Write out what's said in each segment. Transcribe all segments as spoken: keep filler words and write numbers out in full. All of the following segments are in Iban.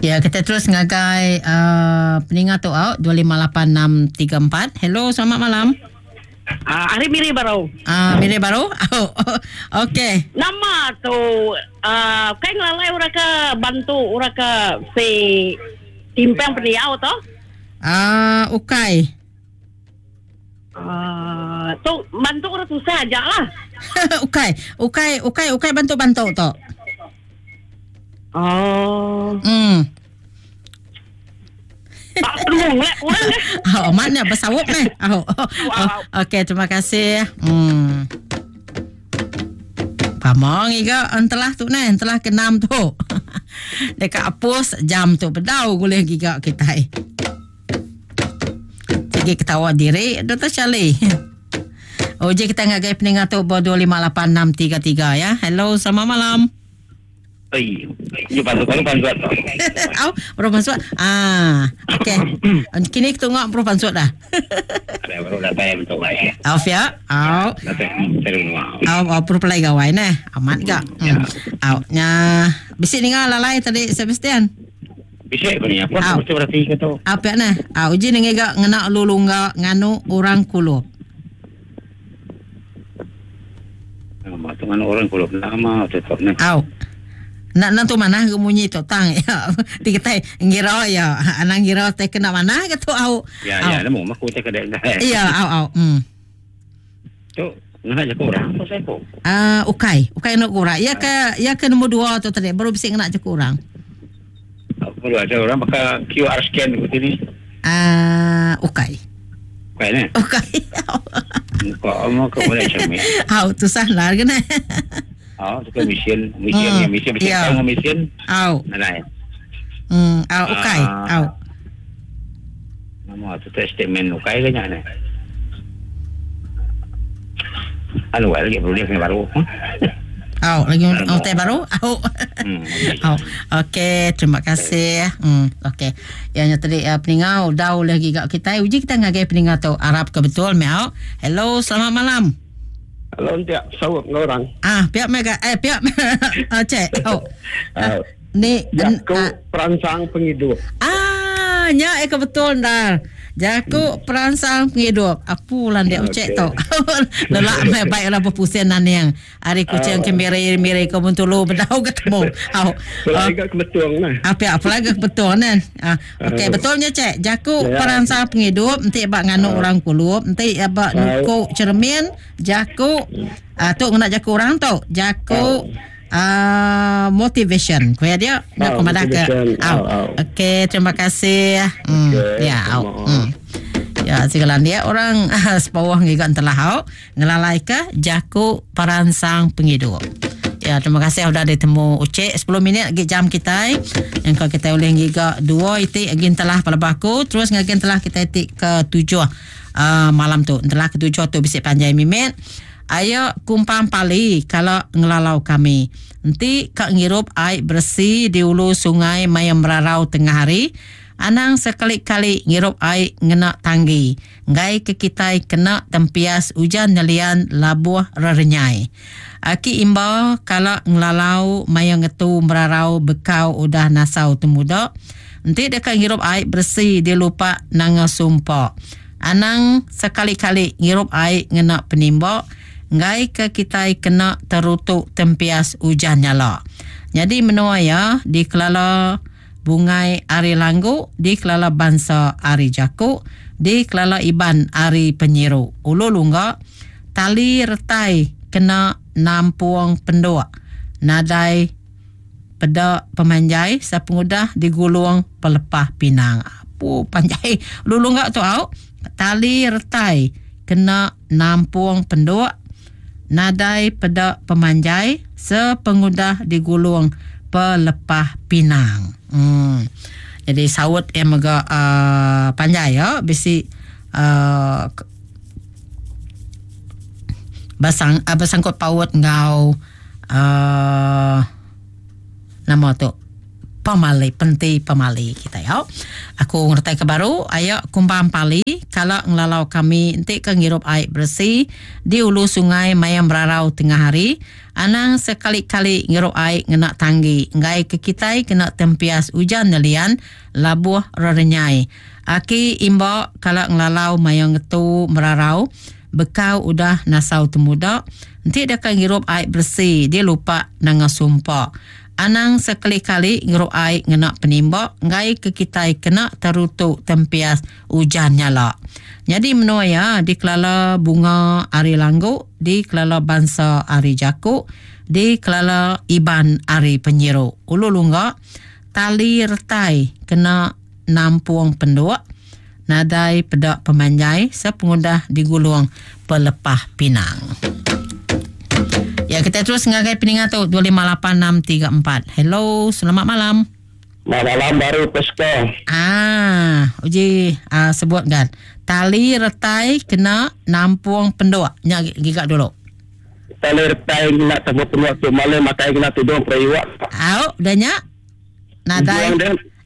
Ya, kita terus ngagai uh, peninga tu out dua lima lapan enam tiga empat. Hello, selamat malam. Ah, hari Miri baru. Ah, Miri baru. Oh, okey. Nama tu uh, kai ngelalai orang ke bantu orang ke si timpang pendiau tu? Ah, ukai. Ah, tu bantu orang susah aja lah. Ukai, ukai, ukai, ukai bantu-bantu tu. Oh. Hmm. Pak perlu lah orang ke. Oh, mana bersawup ni? Oh, oh, oh. Okey, terima kasih. Hmm. Pamong iga entelah tu ni, entelah keenam tu. Dekat apus jam tu bedau boleh giga kita. Sigi ketawa diri Doktor Charlie. Oje kita ngagai peningat tu bawah dua lima lapan enam tiga tiga ya. Hello, selamat malam. Oi, you bantu kamu bantu atau? Au, baru masuk. Ah, okey. Kini kita tengok baru masuk dah. Ada baru datang betul baik. Au ya, au. Datang terus mau. Au, au perlu pelai gawai neh. Amat gak. Ya. Au, nya bisik ninga lalai tadi Sebastian. Bisik kau ni apa? Mesti berarti kau tu. Apa neh? Au, uji ninga gak ngena lulungga nganu orang kulup. Nama tu nganu orang kulup nama tetap neh. Au. Nak nak tu mana ke bunyi tu tang ya. Ti kita ngira ya, anang ngira te kena mana ke tu au. Ya ya, nemu mak ku te kedai. Ya, au au. Hmm. Tu ngena je kurang apa saya ko. Ah, ukai, ukai nak kurang. Ya ke ya ke nombor dua tu tadi baru bisik ngena je kurang. Baru ada orang pakai Q R scan ke sini. Ah, ukai. Ukai ne. Ukai. Kau mau ke boleh cermin. Au, tu sah lah kena. Oh, suka mesin, mesin, hmm. mesin, mesin, yeah. tahu mesin. Au. Mana? Hmm, au, ukai, au. Nama tu test statement ukai ke nya ni. Anu lagi perlu dia kena baru. Au, lagi au teh baru. Au. Hmm. Au. Okey, terima kasih. Hmm, okey. Yang tadi uh, peningau dau lagi gak kita. Uji kita ngagai peningau tu Arab ke betul miau. Hello, selamat malam. Kalau tiap sawap dengan orang. Ah, pihak mereka eh pihak ah cek. Oh. Uh, ni jaku uh, perangsang penghidup. Ah, nya eh betul dah. Jaku hmm. perangsang penghidup. Apa lan dia ucek tu. Lelak mai baiklah berpusing nan yang. Hari kucing ke miri-miri ke Bentulu bedau ketemu. Au. Lagi ke betul nah. Apa apa lagi betul nan. Ah, okey uh, betulnya cek. Jaku ya. Perangsang penghidup enti bak nganu uh, orang kulup, enti bak nukuk cermin, jaku ah tu ngena jaku orang tu. Jaku uh. Uh, motivation. Kuya dia nak oh, kemana ke? Oh. Okey, terima kasih. Hmm, okay, ya, oh. Hmm. Ya, segala dia orang sepawah ngiga telah au ngelalai ke jaku perangsang penghidup. Ya, terima kasih sudah ditemu Ucik sepuluh minit lagi jam kita. Yang kalau kita boleh ngiga dua itik lagi telah pada baku, terus ngagin telah kita itik ke tujuh uh, malam tu. Telah ke tujuh tu bisik panjai mimit. Ayo kumpang pali kalau ngelalau kami. Nanti kak ngirup air bersih di ulu sungai mayam merarau tengah hari. Anang sekali-kali ngirup air ngena tanggi. Ngai ke kitai kena tempias hujan nelian labuh rerenyai. Aki imba kalau ngelalau mayam ngetu merarau bekau udah nasau temuda. Nanti dekat ngirup air bersih dia lupa nanga sumpah. Anang sekali-kali ngirup air ngena penimbak. Ngai ke kitai kena terutuk tempias hujan nyala. Jadi menua ya di Kelala Bungai Ari Langgu, di Kelala Bangsa Ari Jakuk, di Kelala Iban Ari Penyiru. Ulu lungga tali retai kena nampuang penduk. Nadai pedak pemanjai sepengudah digulung pelepah pinang. Apa panjai ulu lungga tu au? Tali retai kena nampuang penduk. Nadai pedak pemanjai sepengudah digulung pelepah pinang. Hmm. Jadi sawut yang mega uh, panjai ya, bisi uh, basang uh, bersangkut paut ngau uh, nama tu pemali penti pemali kita ya. Aku ngertai ke baru ayak kumbang pali kalau ngelalau kami enti ke ngirup air bersih di ulu sungai mayam berarau tengah hari anang sekali-kali ngirup air ngena tanggi ngai ke kitai kena tempias hujan nelian labuh rerenyai. Aki imba kalau ngelalau mayam ngetu merarau bekau udah nasau temuda enti deka ngirup air bersih dia lupa nanga sumpah. Anang sekali-kali ngirup air ngena penimbak ngai ke kitai kena terutuk tempias hujan nyala. Jadi menua ya dikelala bunga ari langgu, dikelala bangsa ari jaku, dikelala iban ari penyiru. Ulu lungga tali retai kena nampung penduk nadai pedak pemanjai sepengudah digulung pelepah pinang. Ya, kita terus ngagai peningat tu dua lima lapan enam tiga empat. Hello, selamat malam. Selamat malam baru Pesko. Ah, uji ah, sebut kan. Tali retai kena nampung penduk. Nya giga dulu. Tali retai kena nampung penduk tu malam makai kena tudung periwak. Au, dah nya. Nadai.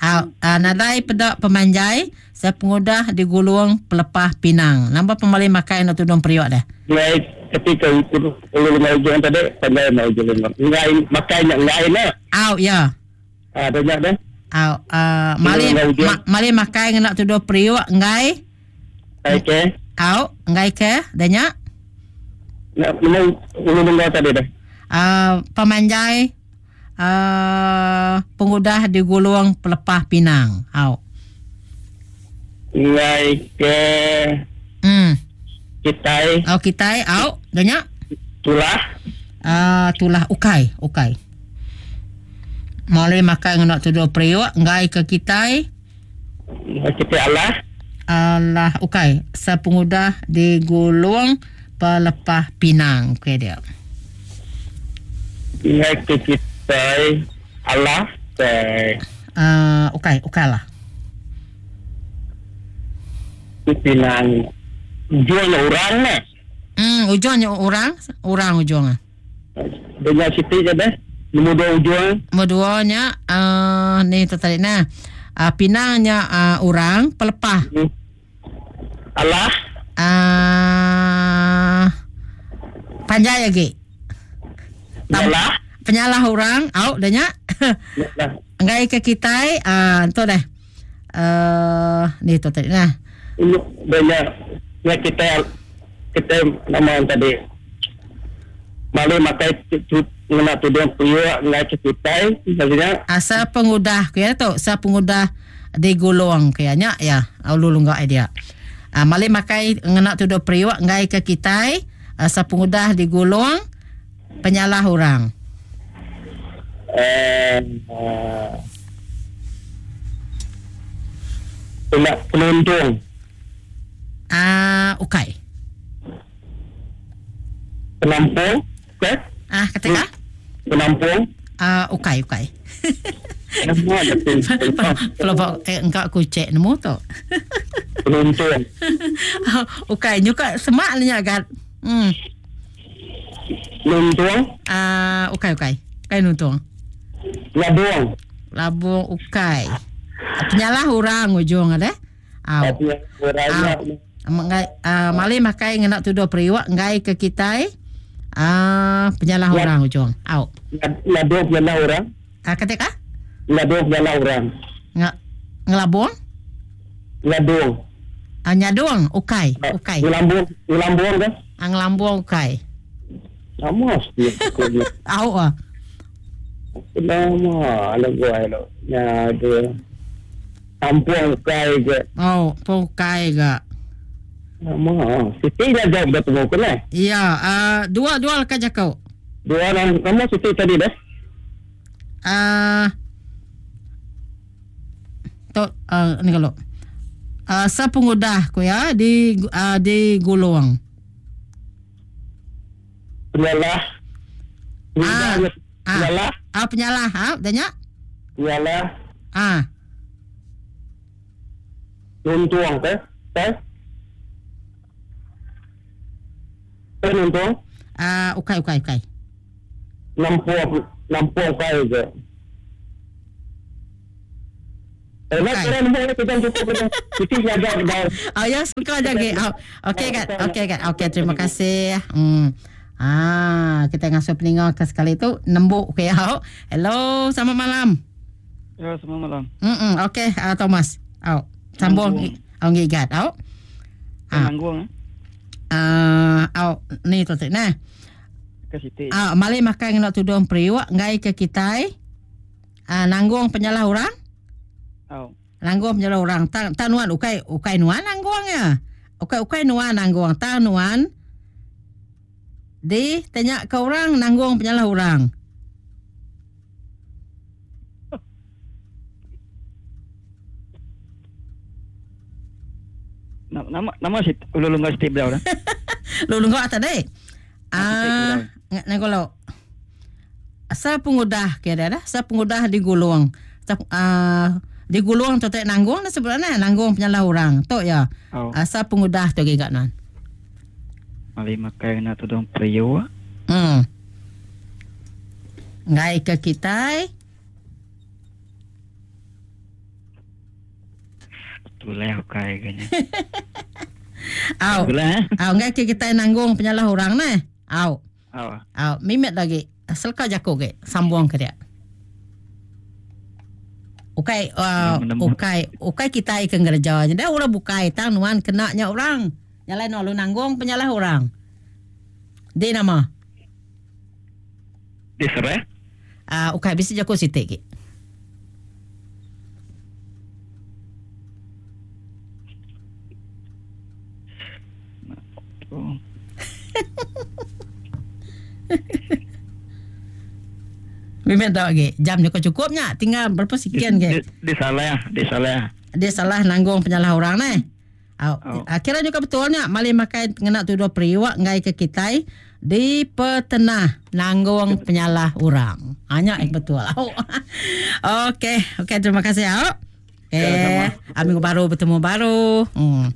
Au, ah, nadai pedak pemanjai sepengudah digulung pelepah pinang. Nambah pemali makai nak tudung periwak dah. Baik. Ketika itu ulu ngai ujung tadi pandai mai ujung ngai makai nya ngai na. Au ya. Ah dah dah. Au uh, mali ma, mali makai ngena tuduh periuk ngai. Okey. Au ngai ke dah nya. Nak nemu ulu ngai tadi dah. Ah uh, pemanjai uh, pengudah digulung pelepah pinang. Au. Ngai ke. Hmm. Kitai. Oh, kitai. Au, dah nya. Tulah. Ah, uh, tulah ukai, ukai. Mali makai ngena tuduh periuk ngai ke kitai. Kitai Allah. Allah ukai. Sepengudah digulung pelepah pinang, okey dia. Ngai ke kitai Allah. Ah, uh, ukai, ukai lah. Pinang. Ujungnya orang lah. Hmm, ujungnya orang, orang ujungnya. Dengan Siti je deh. Nombor dua ujung. Nombor dua nya, uh, ni tertarik nah. Uh, pinangnya uh, orang pelepah. Hmm. Allah. Uh, panjai lagi. Penyalah. Penyalah orang, au dah nya. Enggai ke kitai, uh, tu deh. Uh, ni tertarik nah. Banyak. Ya kita kita nama yang tadi malu makai ngena tudung periuk ngai kitai maksudnya asa pengudah kaya tu sa pengudah digulung kaya nya ya ulu lungga dia ah mali makai ngena tudung periuk ngai ke kitai asa pengudah digulung penyalah orang eh uh, penuntung. Ah, uh, ukai. Penampung, okey? Ah, kata Penampung. Ah, uh, ukai, ukai. Pelobok eh engkau aku cek nemu tu. Penuntung. Ukai, nyuka semak ni agak. Hmm. Nuntung. Ah, uh, ukai, ukai. Ukai nuntung. Labung. Labung ukai. Penyalah orang ujung ada. Au. Mengai uh, mali makai ngena tuduh periuk ngai ke kitai. Ah, uh, penyalah ya. Orang ujung. Au. Labung penyalah orang. Ah, kata ka? Labung penyalah orang. Nge ngelabung? Labung. Ah, nyadung ukai, ukai. Ngelambung, ngelambung ke? Ah, ngelambung ukai. Lama dia. Au ah. Lama, lagu ai lo. Ya, dia. Tampung ukai ke. Oh, ukai ke. Lama. Siti dah jawab dah tunggu kena. Ya, uh, dua dua lekat jakau. Dua orang kamu Siti tadi dah. Ah, uh, tu uh, ni kalau. Uh, sepengudah ku ya di uh, di gulung. Penyalah. Ah, penyalah. Ah, penyalah. Ah, dah nya. Penyalah. Ah. Nuntung ke? Ke? Nuntung? Ah, uh, ukai ukai ukai. Nampung nampung kai ke. Eh, nak kira nombor kita cukup kita. Kita jaga dah. Oh ya, suka aja ge. Oh, okey kan. Okey kan. Okey, terima kasih. Hmm. Ah, kita ngasuh peninga ke sekali tu nembuk ke ya. Hello, selamat malam. Ya, selamat malam. Hmm, okey, uh, Thomas. Oh, sambung. Oh, ngigat. Oh. Ah. Nanggung. Ah, uh, oh, ni tu nah. Ke Siti. Ah, mali makan ngena tudung periuk ngai ke kitai. Ah, nanggung penyalah orang. Oh. Nanggung penyalah orang. Tang tanuan ukai ukai nuan nanggung ya. Ukai ukai nuan nanggung tanuan. Di tanya ke orang nanggung penyalah orang. Nama nama si ulu lunga Siti beliau dah. Lu lunga tadi. Ah, ngolo. Sa pengudah kira dah, sa pengudah digulung. Sa ah digulung tu tak nanggung dah sebenarnya nanggung penyalah orang. Tok ya. Oh. Asa pengudah tu gigak nan. Mali makai nak tudung periuk. Hmm. Ngai ke kitai. Tulai ukai kanya. Au. Au ngai ke kitai nanggung penyalah orang nah. Au. Au. Au mimet lagi. Selka jaku ke sambung ke dia. Ukai uh, ukai ukai kitai ke ngereja je dah orang bukai tang nuan kena nya orang. Nyalai nu lu nanggung penyalah orang. Di nama. Di sereh. Ah uh, ukai bisi jaku sitik ke. Oh. Bimbing tak lagi. Jam juga cukupnya. Tinggal berapa sekian ke? Dia, dia salah, dia salah. Dia salah nanggung penyalah orang ni. Oh. Oh. Kira juga betulnya. Mali makan kena tuduh periwak ngai ke kitai di petenah nanggung penyalah orang. Hanya yang betul. Oh. Okey, okey terima kasih. Oh. Eh, minggu baru bertemu baru. Hmm.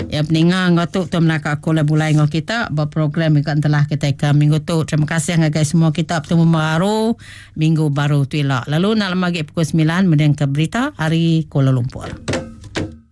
Ya peninga ngau tu tu melaka aku lah bulai ngau kita berprogram ikan telah kita ke minggu tu. Terima kasih ngagai semua kita bertemu baru minggu baru tu elok. Lalu nak lagi pukul sembilan mending ke berita hari Kuala Lumpur.